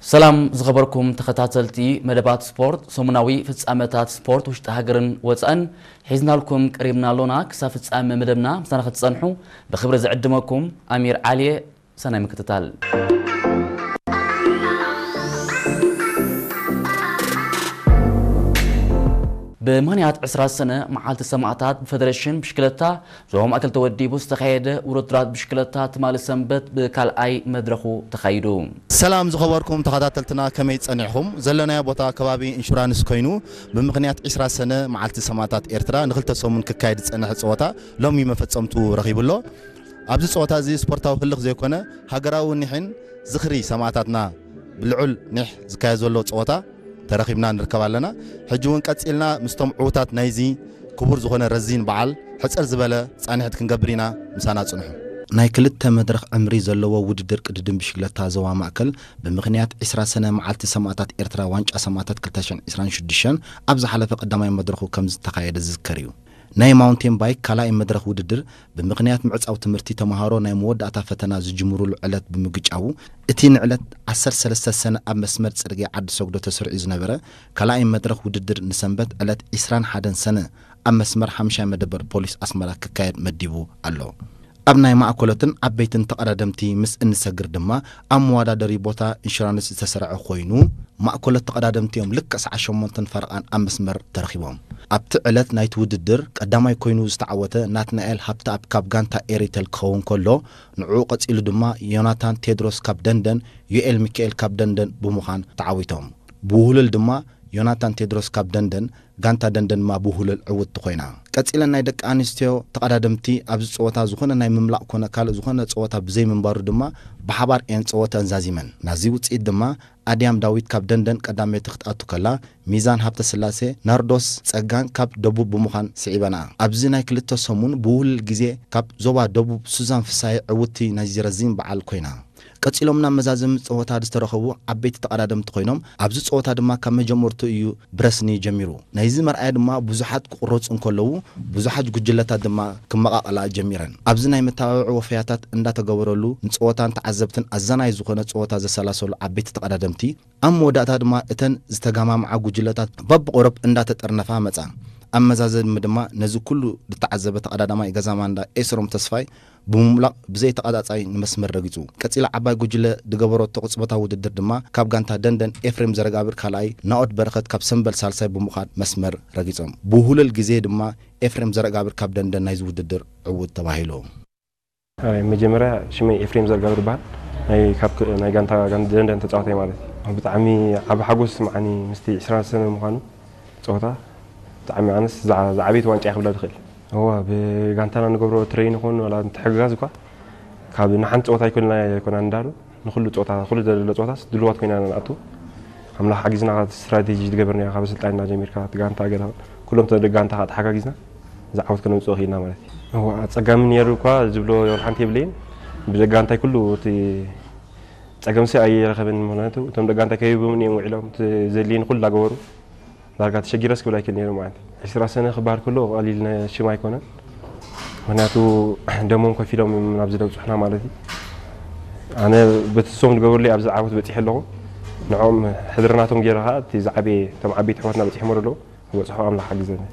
ሰላም ዝኸበርኩም ተኸታተልቲ መደባት ስፖርት፣ ሰሙናዊ ፍጻመታት ስፖርት ውሽጢ ሃገርን ወጻእን ሒዝናልኩም ቀሪብና ኣሎና። ክሳብ ፍጻመ መደብና ምሳና ክትጸንሑ ብኽብሪ ዝዕድመኩም ኣሚር ዓሊየ። ሰናይ ምክትታል። ብምኽንያት ዕስራ ሰነ መዓልቲ ሰማእታት ብፈደሬሽን ብሽክለታ ዞባ ማእከል ተወዲቡ ዝተኻየደ ውድድራት ብሽክለታ ትማሊ ሰንበት ብካልኣይ መድረኹ ተኻይዱ። ሰላም ዝኸበርኩም ተኸታተልትና፣ ከመይ ጸኒሕኹም? ዘለናዮ ቦታ ከባቢ ኢንሹራንስ ኮይኑ፣ ብምኽንያት ዕስራ ሰነ መዓልቲ ሰማእታት ኤርትራ ንኽልተ ሰሙን ክካየድ ዝጸንሐ ጸወታ ሎሚ መፈጸምቱ ረኺቡ ኣሎ። ኣብዚ ጸወታ እዚ ስፖርታዊ ህልኽ ዘይኮነ፣ ሃገራዊ ኒሕን ዝኽሪ ሰማእታትና ብልዑል ኒሕ ዝካየድ ዘሎ ጸወታ ተረኺብና ንርከብ ኣለና። ሕጂ እውን ቀጺልና ምስቶም ዕዉታት ናይዚ ክቡር ዝኾነ ረዚን በዓል ሕጽር ዝበለ ጻንሒት ክንገብር ኢና። ምሳና ጽንሑ። ናይ ክልተ መድረኽ ዕምሪ ዘለዎ ውድድር ቅድድም ብሽክለታ ዞባ ማእከል ብምኽንያት ዕስራ ሰነ መዓልቲ ሰማእታት ኤርትራ ዋንጫ ሰማእታት ክልተ ሽሕን ዕስራን ሽዱሽተን ኣብ ዝሓለፈ ቀዳማይ መድረኹ ከም ዝተኻየደ ዝዝከር እዩ። ናይ ማውንቴን ባይክ ካልኣይ መድረኽ ውድድር ብምኽንያት ምዕጻው ትምህርቲ ተምሃሮ ናይ መወዳእታ ፈተና ዝጅምሩሉ ዕለት ብምግጫዉ፣ እቲ ንዕለት ዓሰርተ ሰለስተ ሰነ ኣብ መስመር ጽርግያ ዓዲ ሰጉዶ ተሰሪዑ ዝነበረ ካልኣይ መድረኽ ውድድር ንሰንበት ዕለት ዕስራን ሓደን ሰነ ኣብ መስመር ሓምሻይ መደበር ፖሊስ ኣስመራ ክካየድ መዲቡ ኣሎ። ኣብ ናይ ማእኮለትን ዓበይትን ተቐዳደምቲ ምስ እንሰግር ድማ ኣብ መወዳደሪ ቦታ ኢንሹራንስ ዝተሰርዐ ኮይኑ፣ ማእኮለት ተቐዳደምቲ እዮም ልክዕ ሰዓት ሸሞንተን ፈረቓን ኣብ መስመር ተረኺቦም። ኣብቲ ዕለት ናይቲ ውድድር ቀዳማይ ኮይኑ ዝተዓወተ ናትናኤል ሃብተኣብ ካብ ጋንታ ኤሪቴል ክኸውን ከሎ፣ ንዕኡ ቀጺሉ ድማ ዮናታን ቴድሮስ ካብ ደንደን፣ ዮኤል ሚካኤል ካብ ደንደን ብምዃን ተዓዊቶም። ብውህሉል ድማ ዮናታን ቴድሮስ ካብ ደንደን፣ ጋንታ ደንደን ድማ ብውህሉል ዕውትቲ ኮይና። ቀጺለን ናይ ደቂ ኣንስትዮ ተቐዳደምቲ ኣብዚ ጸወታ ዝኾነ ናይ ምምላቕ ኮነ ካልእ ዝኾነ ጸወታ ብዘይምንባሩ ድማ ብሓባር እየን ጸወተአን ዛዚመን። ናዚ ውጽኢት ድማ ኣድያም ዳዊት ካብ ደንደን ቀዳመይቲ ክትኣቱ ከላ፣ ሚዛን ሃብተስላሴ፣ ናርዶስ ጸጋን ካብ ደቡብ ብምዃን ስዒበንኣ። ኣብዚ ናይ ክልተ ሰሙን ብውህሉል ግዜ ካብ ዞባ ደቡብ ሱዛን ፍሳሄ ዕውትቲ ናይዚ ረዚን በዓል ኮይና። ቀጺሎም ናብ መዛዘሚ ጸወታ ዝተረኸቡ ዓበይቲ ተቐዳደምቲ ኮይኖም፣ ኣብዚ ጸወታ ድማ ካብ መጀመርቱ እዩ ብረስኒ ጀሚሩ። ናይዚ መርኣያ ድማ ብዙሓት ክቑረጹ እንከለዉ፣ ብዙሓት ጉጅለታት ድማ ክመቓቐላ ጀሚረን። ኣብዚ ናይ መተባብዒ ወፈያታት እንዳተገበረሉ፣ ንጸወታን ተዓዘብትን ኣዛናይ ዝኾነ ጸወታ ዘሰላሰሉ ዓበይቲ ተቐዳደምቲ፣ ኣብ መወዳእታ ድማ እተን ዝተገማምዓ ጉጅለታት በብቑሩብ እንዳተጠርነፋ መጻ። ኣብ መዛዘሚ ድማ ነዚ ኩሉ ዝተዓዘበ ተቐዳዳማይ ገዛ ማንዳ ኤስሮም ተስፋይ ብምምላቕ ብዘይ ተቐጻጻይ ንመስመር ረጊጹ። ቀጺላ ዓባይ ጉጅለ ዝገበረቶ ቅጽበታዊ ውድድር ድማ ካብ ጋንታ ደንደን ኤፍሬም ዘረጋብር ካልኣይ፣ ናኦድ በረኸት ካብ ሰምበል ሳልሳይ ብምዃን መስመር ረጊጾም። ብውህሉል ግዜ ድማ ኤፍሬም ዘረጋብር ካብ ደንደን ናይዚ ውድድር ዕዉት ተባሂሉ። ኣይ፣ መጀመርያ ሽመይ ኤፍሬም ዘረጋብር ይበሃል። ናይ፣ ካብ ክ-፣ ናይ ጋንታ፣ ጋንታ ደንደን ተጻዋታይ ማለት እዩ። ብጣዕሚ ዓቢ ሓጎስ ይስምዓኒ ምስቲ ዕስራ ሰነ ምዃኑ ጸወታ። ብጣዕሚ ኣነስ ዝዓ-፣ ዝዓበየት ዋንጫ እየ ክብላ ዝኽእል። እዋ፣ ብጋንታና ንገብሮ ትሬን ይኹን ዋላ ምትሕግጋዝ እኳ ካብ ንሓንቲ ጸወታ ኣይኮንና፣ ኣይኮና እንዳሉ ንኹሉ ጸወታ፣ ኩሉ ዘሎ ጸወታስ ድልዋት ኮይና ንኣቱ። ኣምላኽ ሓጊዝና፣ ስትራቴጂ ዝገበርናዮ ካብ ኣሰልጣኒና ጀሚርካ፣ እቲ ጋንታ ገለ ኩሎም ተደጋንታ ተሓጋጊዝና ዝዓወት ከነምጽኦ ክኢልና ማለት እዩ። እዋ፣ ኣጸጋሚ ነይሩ እኳ ዝብሎ ወላ ሓንቲ የብለይን። ብደጋንታይ ኩሉ እቲ ጸገምሲ ኣይረኸብን፣ ምኽንያቱ እቶም ደጋንታይ ከይህቡምን እዮም ውዒሎም፣ እቲ ዘድልየኒ ኩሉ እናገበሩ። ዳርጋ ተሸጊረስ ክብል ኣይክእል ነይሩ ማለት እዩ። ዕስራ ሰነ ክበሃል ከሎ ቀሊል ነ-፣ ሽም ኣይኮነን። ምኽንያቱ ደሞም ከፊሎም እዮም ናብዚ ደብጽሑና ማለት እዩ። ኣነ በቲ እሶም ዝገበሩለይ ኣብዚ ዓወት በጺሐ ኣለኹ። ንዕኦም ሕድሪ ናቶም ገይረ ኸኣ እቲ ዝዓበየ፣ እቶም ዓበይቲ ኣሕዋትና በጺሖም ኣለዉ። ክበጽሑ ኣምላኽ ሓግዘኒ።